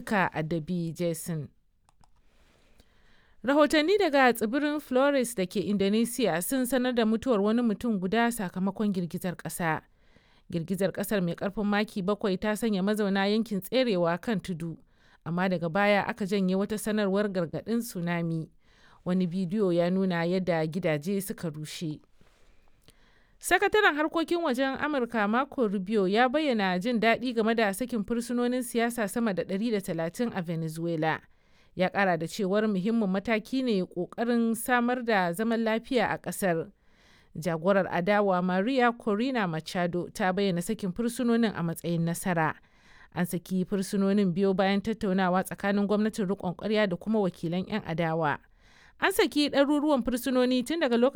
suka addabi Jason. Rahotanni daga tsibirin Flores da ke Indonesia sun sanar da mutuwar wani mutum guda sakamakon girgizar kasa. Girgizar kasar mai karfin maki 7 ta sanya mazauna yankin tserewa kan tudu, amma daga baya aka janye wata sanarwar gargadin tsunami. Wani bidiyo ya nuna yadda gidaje suka rushe. Sakataren harkokin wajen Amurka Marco Rubio ya bayyana jin daɗi game da sakin fursunonin siyasa sama da 130 a Venezuela. Ya ƙara da cewar muhimmin mataki ne ƙoƙarin samar da zaman lafiya a ƙasar. Jagorar adawa Maria Corina Machado ta bayyana sakin fursunonin a matsayin nasara. An saki fursunonin biyo bayan tattaunawa tsakanin gwamnatin riƙon ƙwarya da kuma wakilan 'yan adawa. An saki ɗaruruwan fursunoni tun daga lokacin